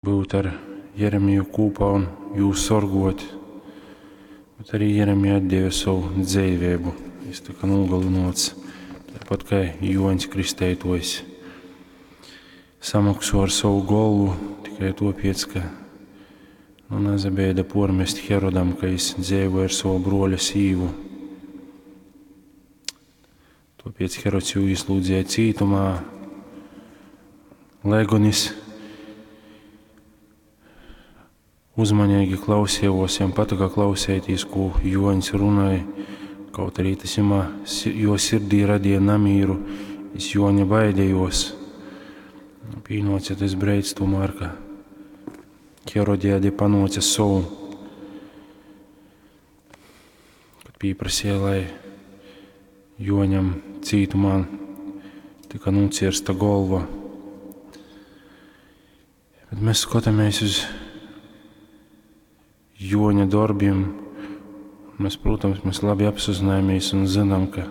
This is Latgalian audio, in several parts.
Byut ar Jeremiju kūpā un jū sorgot, bet arī Jeremija atdeva sovu dzeiveibu. Jis tyka nūgalynuots, taipat kai Juoņs Kristeituojs. Samoksuo ar sovu golvu tikai tuopiec, ka nu, nasabeida puormest Herodam, ka jis dzeivoja ar sovu bruoļa sīvu. Tuopiec Herods jū īslūdzeja cītumā, lai gon jis uzmaneigi klausījos, jam patyka klausēties, ko Juoņs runāja, kaut arī tas jumā, jo sirdī radīja namīru, jis Juoņa baidījos. Pīnoca tas breids tomēr, ka Herodiade panoca savu, kad pieprasīja, lai Juoņam cītumā tika nocirsta golva. Bet mēs skatāmies uz Juoņa darbiem. Mēs, protams, mēs labi apzināmies un zinām, ka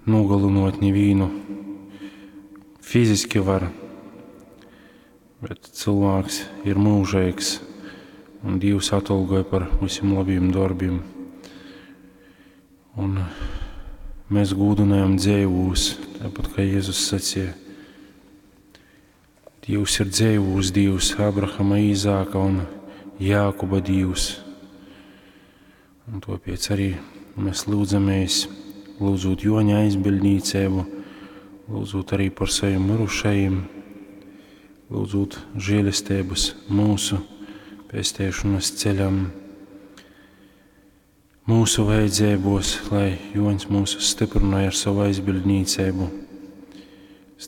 nogalinot nevienu fiziski var, bet cilvēks ir mūžīgs un Dievs atalgoja par visiem labiem darbiem. Un mēs gūdinājam dzīvūs, tāpat kā Jēzus sacīja. Dievs ir dzīvūs Dievs, Abrahama, Īzāka un Jākuba Dievs. Un tāpēc arī mēs lūdzamies, lūdzot Joņa aizbildnīcību, lūdzot arī par saviem mirušajiem, lūdzot žēlestības mūsu pestēšanas ceļam, mūsu vajadzībos, lai Joņs mūs stiprināja ar savu aizbildnīcību,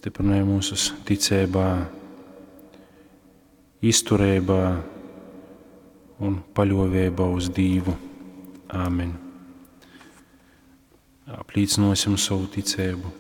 stiprināja mūsu ticībā, izturībā un paļāvībā uz Dievu. Āmen. Apliecināsim savu ticību.